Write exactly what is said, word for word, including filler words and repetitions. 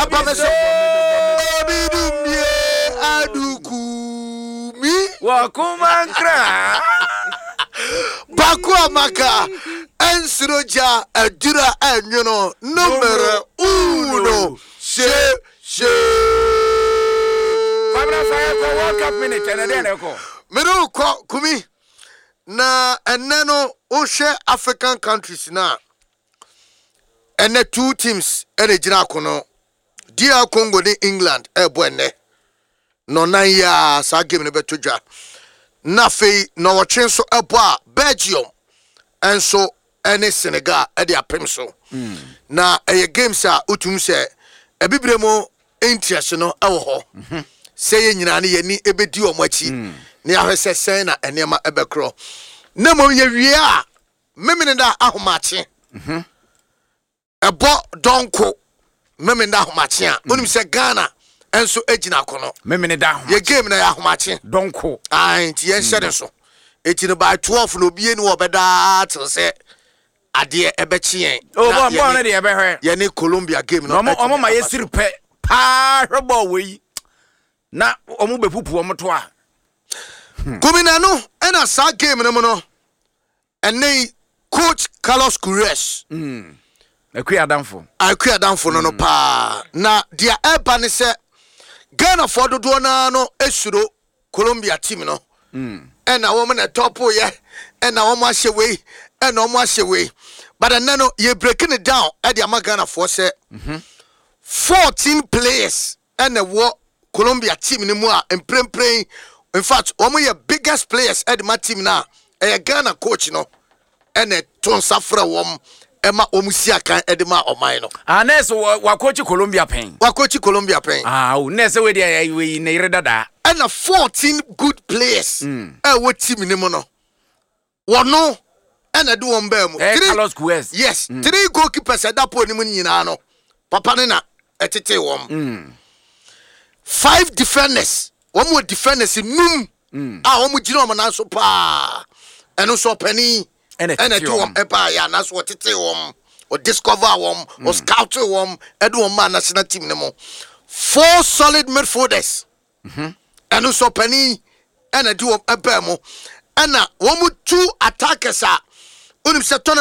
Aba me so. Obi dumie adukumi. Wɔkoma nkra. Baako a maka ɛnsoro gya adura ɛnwono numero uno hye hye. Kwabena sa, yɛkɔ World Cup minute. Ɛnɛ dɛn na ɛkɔ? Mene wo kɔ, Kumi, na ɛnɛ no wohwɛ African countries no a, ɛnɛ two teams ɛna gyina akono. D R Congo ne England ɛrebɔ ɛnɛ na ɔnan yi a saa game no bɛto dwa. Na afei na ɔtwe nso ɛbɔ a, Belgium ɛnso ɛne Senegal ɛde apem so. Na ɛyɛ games a wotum sɛ ɛbibire mu interest no ɛwɔ hɔ sɛ yɛn nyinaa no yɛni ɛbɛdi wɔn akyi na yɛahwɛ sɛ sɛn na nneɛma ɛbɛkorɔ. Na mmom yɛwie a, memene da ahomakye ɛbɔ dɔnko, memene da ahomakye a wonim sɛ Ghana ɛnso gyina akono. Memene da ho. Yɛ game na yɛ ahomakye. Dɔnko. Ae, nti yɛnhyɛ ne so. Eti no by twelve na obie ni wɔ bɛdaa till sɛ adeɛ ɛbɛkye yɛn. O Na bɔɔl bɔɔl no yɛne- deɛ yɛbɛhwɛ. Yɛne Colombia game no Na ɔmo ɔmo ɛtumi ma aba yɛsiri so. pɛ paa hwɛ bɔɔl wɔ yi na ɔmo bɛpupu ɔmo to a. Kumina no ɛna saa game no mu no, ɛnɛ yi coach Carlos Queiroz. Akui adamfo. Akui adamfo no no paa. Na deɛ ɛba ne sɛ Ghanafoɔ dodoɔ naa no esuro Colombia team no, ɛna wɔn na ɛtɔpo yɛ, ɛna wɔn ahyɛ wei, ɛna wɔn ahyɛ wei, but ɛnɛ no yɛ breaking it down ɛde ama Ghanafoɔ sɛ fourteen players ɛna ɛwɔ Colombia team no mu a mprempren, in fact, wɔn yɛ biggest players ɛde ma team no a ɛyɛ Ghana coach no ɛna ɛto nsa frɛ wɔn ɛma wɔn si akan ɛde ma ɔman no. Ah, nɛɛsɛ wakɔkyi Colombia pɛn. Wakɔkyi Colombia pɛn. Ah, o nɛɛsɛ wei deɛ wei ne yere dadaa. Ɛna fourteen good players ɛwɔ team no mu no, wɔno ɛna de wɔn bɛɛ mu. Ɛyɛ Three- Carlos Queiroz. Yes, three goalkeepers ɛda pole no mu nyinaa no, papa ne na ɛtete wɔn. Five defenders, wɔn wɔ defenders num a wɔn gyina wɔn nan so paa. Ɛno nso ɔpanin ɛna ɛna ɛtete ɛde wɔn wɔn. Ɛbaa yɛ anaasɛ wɔtete wɔn, ɔdiscover wɔn, ɔscout wɔn, ɛde wɔn maa national team no mu. Four solid midfielders, ɛno nso ɔpanin ɛna ɛde wɔn ɛbaa mu. Ɛna wɔn mu two attackers a onim sɛ tournament.